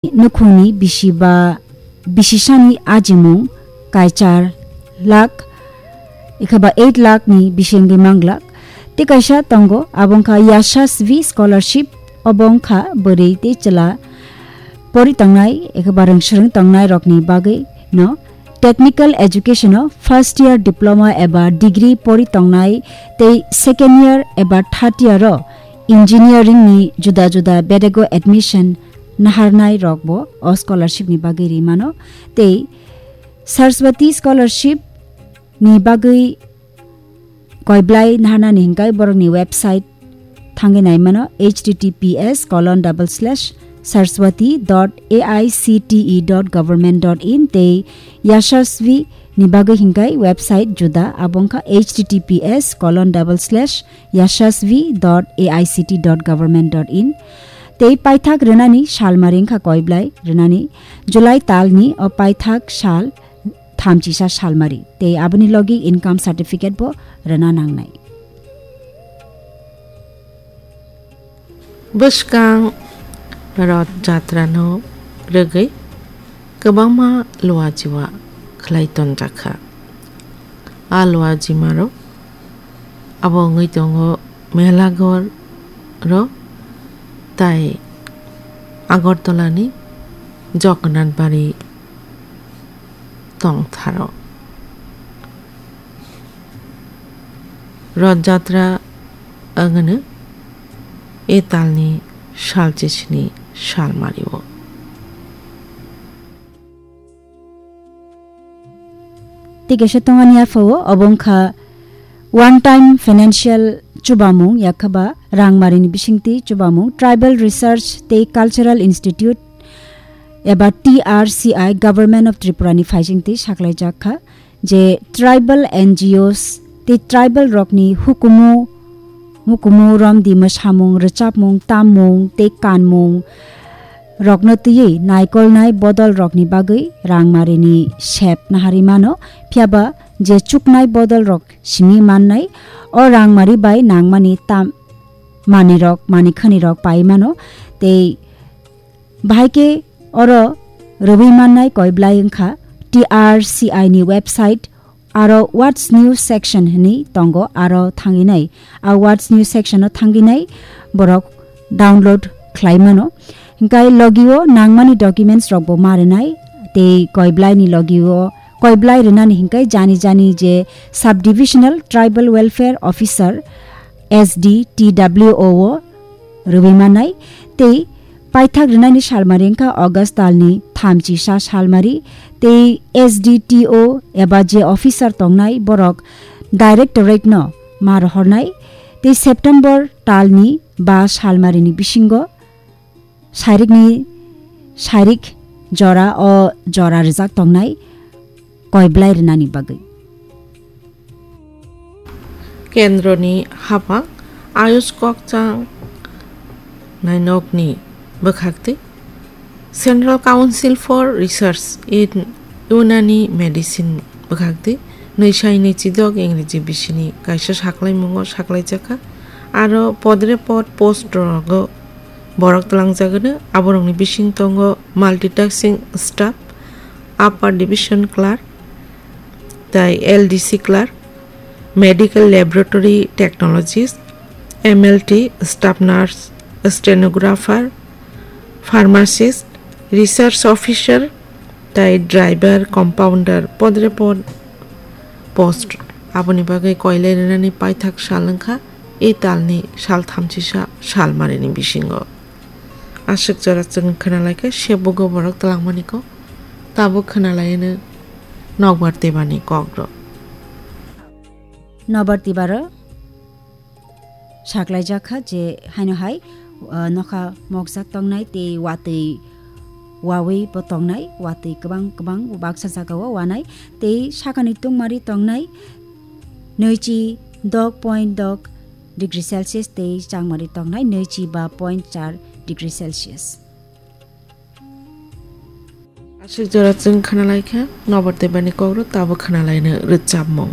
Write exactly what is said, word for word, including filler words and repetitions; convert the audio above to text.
nukhungni bisi ba bisisani ajimung kaichar lakh, ekhaba eight lakh ni bisingwi manglak. Tei kaisa tongo, abo wngkha Yashasvi Scholarship, obo wngkha bwrwi tei chwla pori tongnai ekhaba rwngswrwng tongnai rokni bagwi no technical education o first year diploma eba degree pori tongnai tei second year eba third year o engineering ni juda juda bedego admission naharnai rokbo o scholarship ni bagwi ri mano. Tei Saraswati Scholarship ni bagwi koiblai naharnani hinkai borokni website thangwi nai mano, H T T P S colon double slash saraswati dot A I C T E dot government dot in tei Yashasvi ni bagwi hinkai website juda, abo wngkha H T T P S colon double slash yashasvi dot A I C T dot government dot in. Tei paithak rwnani salmari wngkha koiblai rwnani July talni o paithak sal thamchisa salmari tei aboni logi income certificate bo rwna nangnai. Bwskang Rath Jatra no rwgwi kwbangma luajiwa khlai tonjakha. A luajimarok abo wngwi tongo Melaghor ro tai Agartala ni Jagannath Bari tongtharo. Rath Jatra wngano e talni salchisini salmario. Tei kaisa tongani aphao obo wngkha one time financial chubamung, yakhaba rangmarini bisingtwi chubamung, Tribal Research tei Cultural Institute eba T R C I Government of Tripura ni phaisingtwi saklaijak kha je tribal N G Os tei tribal rokni hukumu, hukumu romdi mwsamung, rwchapmung, tammung tei kanmung rokno twiwi naikolnai bodol rokni bagwi rangmarini sep nahari mano, phiyaba je chuknai bodol rok simi mannai, o rangmari bai nangmani tam manwi rok, mani khani rok pai mano, tei bahai khe oro rwui mannai koiblai wngkha T R C I ni website, aro What's New section hwnwi tongo, aro thangwi nai a What's New section o thangwi nai borok download khlai mano. Hinkhe logio nangmani documents rokbo ma rwnai, tei koiblai ni logio koiblai rwnani hinkhe jani jani je Subdivisional Tribal Welfare Officer, S D T W O o rwui mannai, tei paithak rwnani salmari wngkha August talni thamchisa salmari, tei S D T O eba je officer tongnai borok directorate no ma rohornai, tei September talni ba salmarini bisingo sairikni sairik jora o jora rijak tongnai koiblai rwnani bagwi. Kendroni hapang Ayush kokchang nainokni bwkhaktwi Central Council for Research in Unani Medicine bwkhaktwi nwi sai nwi chidok Ingreji bisini kaisa saklaimungo saklaijakha. Aro podre pod post rogo borok twlangjagano, aborokni bising tongo multitasking staff, upper division clerk, tai L D C clerk, medical laboratory technologist, M L T, staff nurse, stenographer, pharmacist, research officer, tai driver, compounder, podre pod post. Aboni bagwi koilai rwnani paithak sal wngkha e talni sal thamchisa salmarini bisingo. Aswk jora chwng khwnalaikha, sebugo borok twlangmani kok, tabuk khwnalaino nokbar tebani kokrok. Nokbar tebaro saklaijak kha je haino hai, uh, nokha mokjak tongnai tei watwi wawi bo tongnai, watwi kwbang kwbang baksa jagao wanai tei sakani tungmari tongnai nwichi dok point dok degree Celsius tei changmari tongnai nwichi ba point char degree Celsius. Aswk jora chwng khwnalaikha, nokbar tebani kokrok tabuk khwnalaino rwchapmung.